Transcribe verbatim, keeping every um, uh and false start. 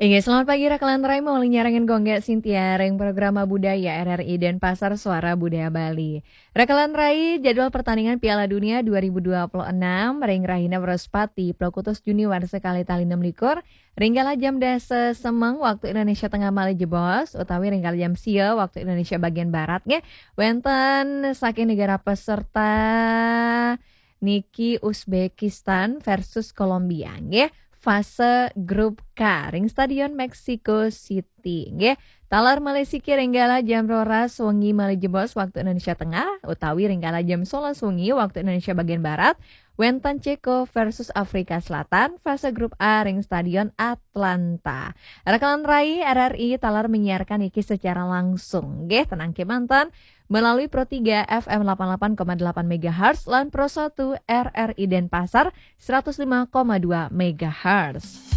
Inggih, selamat pagi rekan rai, maulinya nyarengan Gung Gé Sintia ring programa budaya R R I Denpasar Suara Budaya Bali. Rekan rai, jadwal pertandingan Piala Dunia dua ribu dua puluh enam ring rahina Wrespati, puluh kutus Juni warsa kalih tali enam likur, ring kala jam dasa semeng waktu Indonesia Tengah malih jebos, utawi ring kala jam sia waktu Indonesia bagian barat nggih, wénten saking negara peserta niki Uzbekistan versus Kolombia nggih, fase grup K ring Stadion Mexico City nggih. Taler malih siki ring kala jam roras wengi malih jebos waktu Indonesia Tengah, utawi ring kala jam solas wengi waktu Indonesia bagian barat, wénten Ceko versus Afrika Selatan, fase grup A ring Stadion Atlanta. Rekan rai, R R I taler menyiarkan niki secara langsung nggih, tenang kémanten, melalui Pro tiga F M delapan puluh delapan koma delapan megahertz lan Pro satu R R I Denpasar seratus lima koma dua megahertz.